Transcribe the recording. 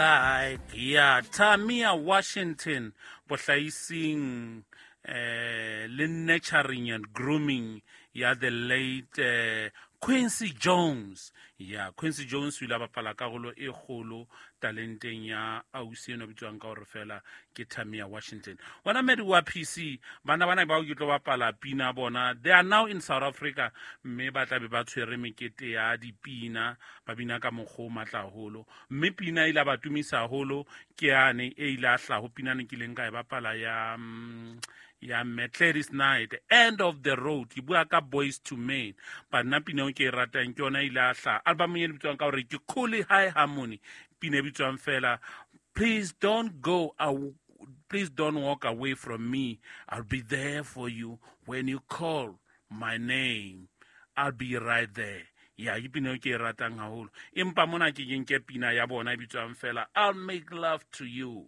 Like ya Tamia Washington bohlaising le nurturing and grooming ya the late Quincy Jones. Ya Quincy Jones o ile a bapala karolo e kgolo talenteng ya ausi eno bitswang ka hore fela ke Tamia Washington. Wona medi wa PC bana bana bao ke tlo bapala pina bona, they are now in South Africa, mme ba tla be ba tshwere mekete ya dipina, ba bina ka mokgwa o matla haholo. Mme pina e ile ba tumisa haholo ke yane e ile a hlaho pina ne kileng ka e bapala ya Gladys Knight, End of the Road. Ke bua ka Boys to Men, but nna pina eo ke e ratang ke yona e ile a hlaha album e bitswang ka hore ke Cooley High Harmony, pina e bitswang fela Please Don't Go, Please Don't Walk Away from Me, I'll Be There for You When You Call My Name, I'll Be Right There. Ya ke pina eo ke e ratang haholo, empa mona ke ke nke pina ya bona e bitswang fela I'll Make Love to You.